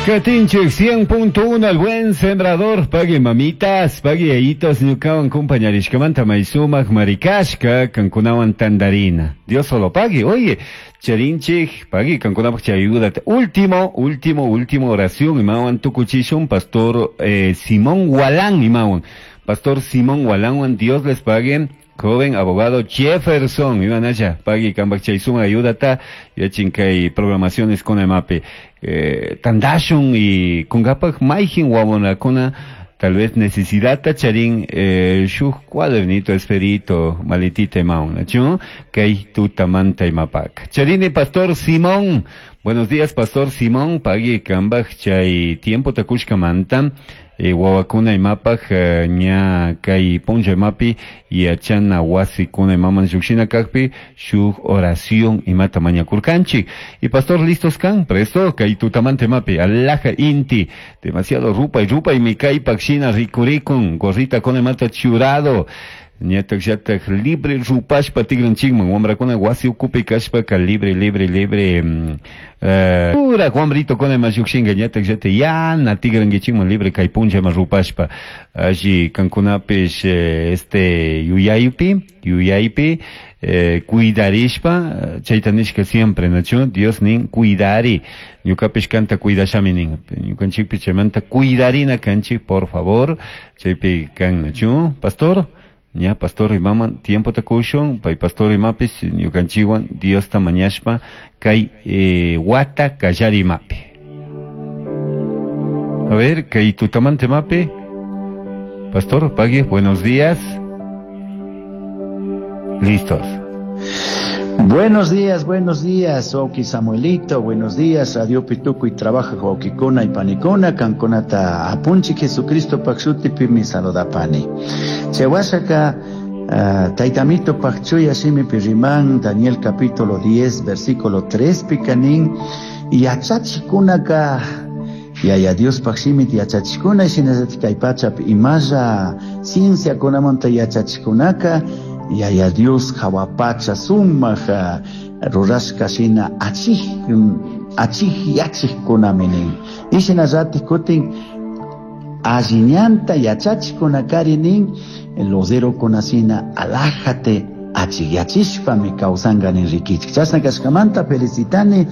Katinchik 100.1 al buen sembrador, pague mamitas, pague yayitos, ñukawan kumpañarishkamanta may sumak marikashka, kankunawan tandarina. Dios solo pague, oye, charinchik, pague kankunapaq chay ayudata. Último, último, último oración, imawan tukuchishun, pastor Simón Walán, imawan. Pastor Simón Walánwan, Dios les pague. Joven abogado Jefferson, iban allá, pague kambak chay suma ayudata, yachin kay programaciones con emape. Tandashun y kungapak mayjin wawonakuna, tal vez necesidad charin, shuj cuadernito, esferito, maletita imaun, ¿nachu? Kay tutamanta imapak. Charini Pastor Simón, buenos días Pastor Simón, pague kambak chay tiempo takushkamanta, wawakuna imapak, ña kay punlla imapi yachana wasikuna imaman lluqshina kaqpi shuk oración imata mañakurkanchik. Y pastor listos kan, presto kay tutamanta imapi alaja inti, demasiado rupa y rupa y mikaypak shina rikurikun, gorrita con imata churado. Ñatak llatak libre rupashpa tigranchikman, wamrakuna wasi ukupi kashpaka libre, libre, libre, pura wamrito kuna ima llukshinka, ñatak llatak yana tigrankichikman libre kay punlla ima rupashpa. Alli kankunapish, este yuyaypi, yuyaypi, cuidarishpa, chayta nishka siempre, ¿nachu? Dios nin cuidari, ñukapish kanta cuidashami nin, ñukanchikpi chaymanta cuidarina kanchik, por favor, chaypi kan, ¿nachu? Pastor, ña pastor imaman tiempo takushun, pay pastor imapis ñukanchikwan Diosta mañashpa kay, wata kallari imapi. A ver, kay tutamante mapi. Pastor, pague, buenos días. Listos. Buenos días, buenos días, Oki Samuelito, buenos días, Radio Pituco y trabaja Joaquicona y Panicona, Canconata Apunchi Jesucristo Paxutipi mi saludapani. Chewasaka, Taitamito Paxchuya Shimi Pirimán, Daniel capítulo 10, versículo 3, Picanín, y Achachikunaka, Yaya Dios Paximit Yachachikuna, y Sinazatika y Pachap, y Maya, Ciencia Kunamonta Yachachikunaka, Yaya Dios hawapacha sumaja rurashka shina achij, achij yachij kunaminin. Y shinallati kutin alliñanta yachachikuna nin, lozero kunasina alájate achiyachishpami kawsanka nin rikichik. Chashna kashkamanta felicitani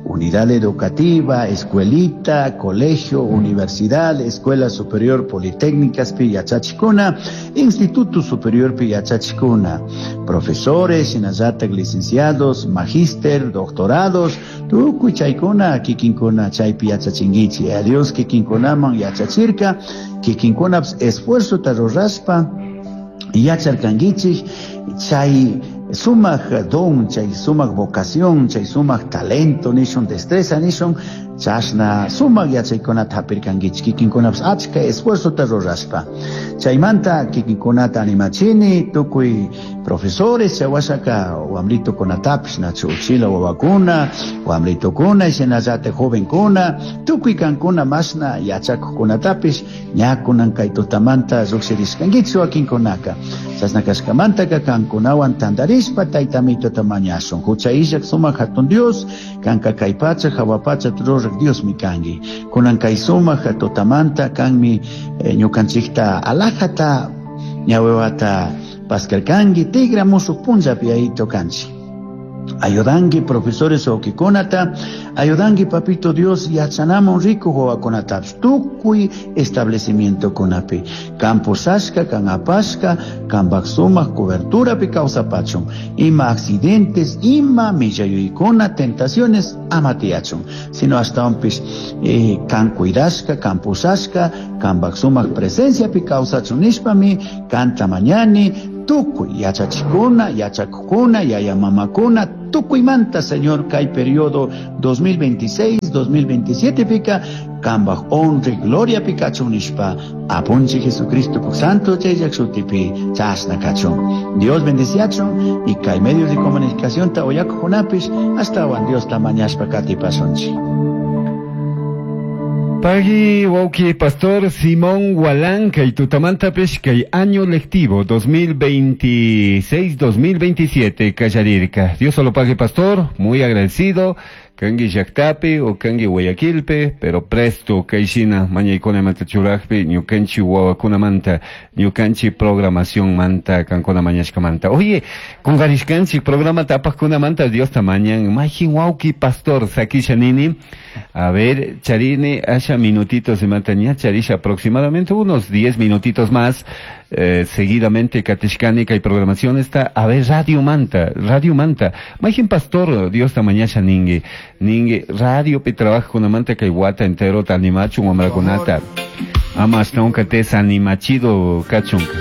unidad educativa, escuelita, colegio, universidad, escuela superior politécnicas pi yachachikuna, instituto superior pi yachachikuna, profesores, shinallatak licenciados, magíster, doctorados, tukuy chaykuna kikinkuna chaypi yachachinkichik. Adiós kikinkunaman yachachirka, kikinkunapas esfuerzo rurashpa yacharkankichik chay sumaq don, chay sumaq vocación, chay sumaq talento nishun, destreza nishun, chashna sumaq yachaykunata hapirkankichik, kikinkunapas achka esfuerzota rurashpa. Chaymanta kikinkunata animachini, tukuy profesores, chawashaka wamritukunatapish, nachu uchila wawakuna, wamritukuna, shinallata jovenkuna, tukuy kankuna mashna yachakuqkunatapish, ñakunan kay tutamanta lluqshirishkankichik wakinkunaka. Chashna kashkamantaka kankunawan tantarishpa taytamitota mañashun. Hucha illak sumaq hatun Dios, kanka kay pacha, hawa pacha ruraq Diosmi kanki. Kunan kay sumaq tutamanta kanmi, ñukanchikta alajata ñawewata paskarkanki, tigra musuq punllapi ayito kanchik. Ayudanki profesores okikunata, ayudanki papito Dios yachanamun rico wawakunatapish, tukuy establecimiento kunapi, campusashka, kan apashka, kanpak sumaq coberturapi kawsapachun, ima accidentes, ima millayuykuna, tentaciones ama tiyachun, sino ashtawanpish, kan cuidashka, kan pushashka, kanpak sumaq presenciapi kawsachun nishpami, kanta mañani, tukuy yachachikuna, yachakukuna, yaya mamakuna, tukuymanta, Señor, kay periodo 2026, 2027 pika, kambaj honra y gloria pikachun nishpa, apunchi Jesucristo puk santo chayllak shutipi, chashna kachun. Dios bendeciachun y kay medios de comunicación ta oyakukunapish, hasta wan Dios ta mañashpa katipasunchi. Pagui wauki Pastor Simón Walán, kay tutamantapish kay año lectivo 2026-2027 kallarirka. Dios solo pague, pastor, muy agradecido. Kanki llaktapi o kanki Guayaquilpi, pero presto kayshina mañaykunamanta churajpi ñukanchik wawakunamanta, ñukanchik programacionmanta, kankuna mañashkamanta. Oye, kungarishkanchik programata apajkunamanta Diosta mañan, majin wawki pastor sakisha nini. A ver, charini, asha minutitos imata ña charisha aproximadamente unos 10 minutitos más. Seguidamente katishkani kay programación está, a ver, Radio Manta, Radio Manta. Majin pastor, Diosta mañasha ningi, ningi, radio pi trabaja con manta kay wata entero ta animachun wamrakunata. Ama ashtawanka tes animachido kachunka.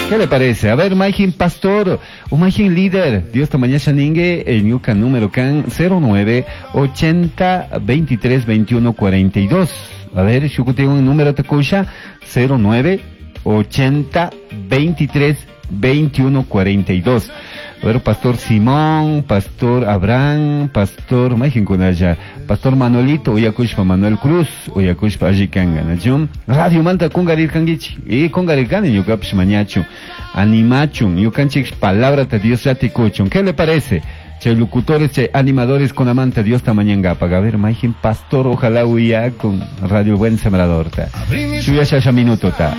¿Qué le parece? A ver, Majin Pastor, o Majin Líder, Diosta mañasha ningue, el ñuka número can 09 80 23 21 42. A ver, shukute un número te kusha, 09 80 23 21 42. A ver, Pastor Simón, Pastor Abraham, Pastor Majin kunalla, Pastor Manuelito, uyakushpa Manuel Cruz, uyakushpa alli kanga, nachum? Radio Manta kungarirkankichik, y kungarirkani ñukapish mañachun, animachun, ñukanchik palabra ta Dios yatikuchun. ¿Qué le parece? Chay locutores, chay animadores con amante Dios ta mañangapa. A ver, Majin Pastor, ojalá uyakun Radio Buen Sembrador ta. Shuya shasha minuto ta.